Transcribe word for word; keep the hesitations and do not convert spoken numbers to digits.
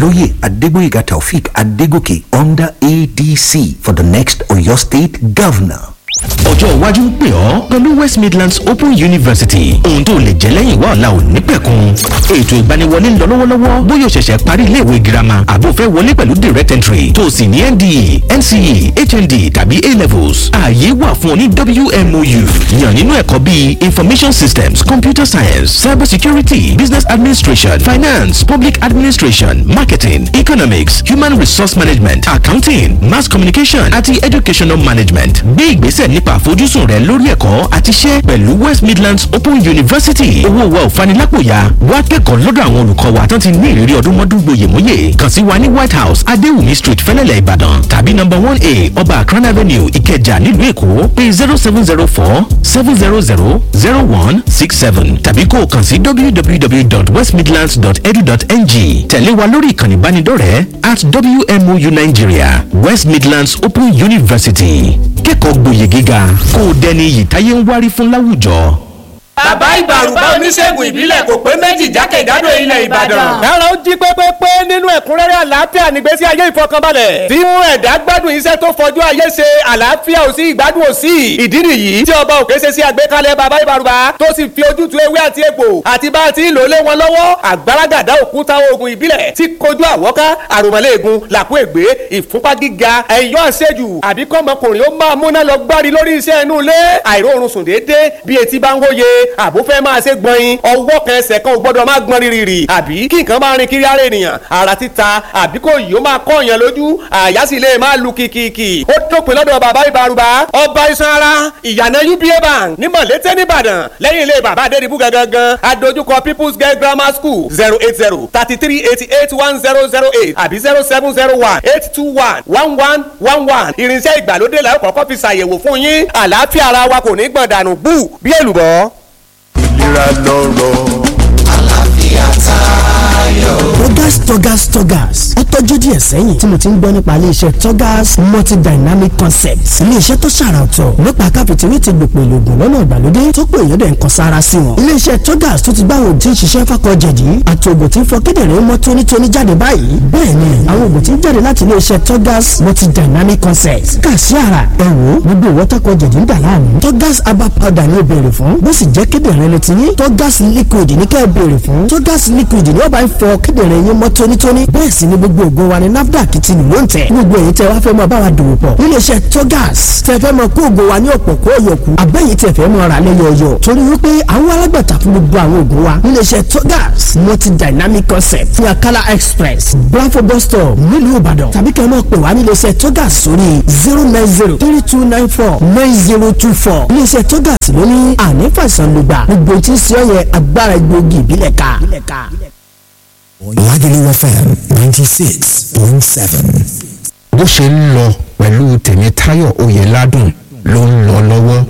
Oloye Adegboyega Taofik Adegoke under A D C for the next Oyo State Governor. Ọjọ́ iwájú ń pè ọ́ pẹ̀lú West Midlands Open University. Ohun tó lè jẹ́ lẹ́yìn wá ọ̀la ò ní pẹ̀kun. Ètò ìgbaniwọlé ń lọ lọ́wọ́lọ́wọ́. Bóyá o ṣẹ̀ṣẹ̀ parí iléèwé girama àbó fẹ́ wọlé pẹ̀lú direct entry tó o sì ní N D E, N C E, H N D tàbí A levels. Ààyè wà fún ọ ní W M O U. Yàn nínú ẹ̀kọ́ bíi Information Systems, Computer Science, Cyber Security, Business Administration, Finance, Public Administration, Marketing, Economics, Human Resource Management, Accounting, Mass Communication àti Educational Management. Gbé ìgbésẹ̀ nípa àfojúsùn rẹ lórí ẹ̀kọ́ àti iṣẹ́ pẹ̀lú West Midlands Open University. Owó wa ò fanilápòyà. Wá kẹ́kọ̀ọ́ lọ́dọ̀ àwọn olùkọ́ wa tán ti ní ìrírí ọdún mọ́dún gboyèmóyè. Kàn sí wa ní White House, Adéwùmí Street, Fẹ́lẹ́lẹ̀, Ìbàdàn tàbí number one A, Ọba Akran Avenue, Ìkẹjà, nílùú Èkó. Pé zero seven zero four seven zero zero zero one six seven tàbí kó o kàn sí w w w dot west midlands dot edu dot n g. Tẹ̀lé wa lórí ìkànnì ìbánidọ́rẹ̀ẹ́ at W M O U Nigeria, West Midlands Open University. Kẹ́kọ̀ọ́ gboyè gíga kó o dẹni iyì táyé ń wárí fún láwùjọ. Bàbá Ìbàrùbá oníṣègùn ìbílẹ̀ kò pé méjì jákèjádò ilẹ̀ Ìbàdàn. Dára ó jí pépépé nínú ẹ̀kúnrẹ́rẹ́ àlàáfíà nígbésí ayé ìfọkànbalẹ̀. Tí mú ẹ̀dá gbádùn iṣẹ́ tó fọjú ayé ṣe, àlàáfíà ò sí, ìgbádùn ò sí. Ìdí nìyí tí ọba òkè ṣe sí àgbékalẹ̀ bàbá Ìbàrùbá tó sì fi ojútùú ewé àti egbò àti bá a ti ń lò lé wọn lọ́wọ́. Àgbàràgàdá òkúta oògùn ìbílẹ̀ tí kojú àwọ́ká, àròmọ̀lẹ́ẹ̀gùn, làkú ègbé, ìfúnpá gíga, ẹ̀yọ́ àṣejù, àbí kọ́mọkùnrin ó máa múná lọ gbárí lórí iṣẹ́ inú ilé, àìróorun sùn déédéé bí etí bá ń wóye, àbó fẹ́ máa ṣe gbọ̀nyin, ọwọ́ kan ẹsẹ̀ kan ò gbọ́dọ̀ máa gbọ́n rírì, àbí kí nǹkan máa rin kiri ara ènìyàn, ara títa, àbí kò yìí ó máa kọ́ èèyàn lójú, àyà sì lè máa lu kìkìkì. Ó dópin lọ́dọ̀ bàbá Ìbàrùbá, ọba iṣan ara, ìyànà U B A Bank ní Mọ̀lété nìbàdàn, lẹ́yìn ilé bàbá Adédìbú gangan, adójúkọ People's Girl Grammar School. Zero eight zero thirty three eighty eight one zero zero eight àbí zero seven zero one eight two one one one one one. Irinṣẹ́ ìgbàlódé la ó kọ́kọ́ fi ṣàyẹ̀wò fún yín. Àlàáfíà ara wa kò ní gbọ̀n dànù bú bí èlùbọ́. Ìlera lọ́rọ̀. Àlàáfíà tayọ. Togas Togas Togas ó tọ́jú díẹ̀ sẹ́yìn tí mo ti ń gbọ́ nípa iléeṣẹ́ Togas Multidynamic Concepts, iléeṣẹ́ tó ṣàrà ọ̀tọ̀ nípa káfíntìrì ti gbòpò ìlògùn lọ́nà ìgbàlódé tó pé èèyàn dẹ̀ ń kan sára sí wọn. Iléeṣẹ́ Togas tó ti gbá àwọn òògùn tí ń ṣiṣẹ́ fákọ̀jẹ̀dí àti òògùn tí ń fọ kíndìnrín mọ́ tónítóní jáde báyìí. Bẹ́ẹ̀ ni àwọn òògùn tí ń jáde láti iléeṣẹ́ Togas Multidynamic Concepts kà sí ara ẹ wò gbogbo ìwọ́tàkọ̀jẹ̀dí ń dà láàmú. Togas herbal powder ni ó béèrè fún, bó sì jẹ́ kíndìnrín ló ti ní Togas liquid ní kẹ́ ẹ béèrè fún. Togas liquid ni ó bá ń fọ kíndìnrín yín mọ́ tónítóní. Bẹ́ẹ̀ sì ni gbogbo ògùn wa ni NAFDAC ti lù ló ń tẹ̀. Gbogbo èyí tẹ́ wá fẹ́ mọ bá wa dòwò pọ̀ níléeṣẹ́ Togas, tẹ́ fẹ́ mọ kó ògùn wa ní ọ̀pọ̀ kó ọ̀yọ̀kù, àbẹ́yìí tẹ́ fẹ́ mọ ra lẹ́yọ̀ọ̀yọ̀, torí wípé àwọn alágbàtà fún gbogbo àwọn ògùn wa níléeṣẹ́ Togas Multidynamic Concept ní Akala Express, Blanfo bus stop, nílùú Ìbàdàn, tàbí kẹ́ ẹ máa pè wá níléeṣẹ́ Togas sórí zero nine zero three two nine four nine zero two four. Níléeṣẹ́ Togas ló ní àní fàìsàn lùgbà gbogbo tí ń ṣe ọ̀yẹ agbára egbòogi ìbílẹ̀ ká. Lagelu F M ninety six point seven. Bó ṣe ń lọ pẹ̀lú Tèmítáyọ̀ Oyèládùn ló ń lọ lọ́wọ́.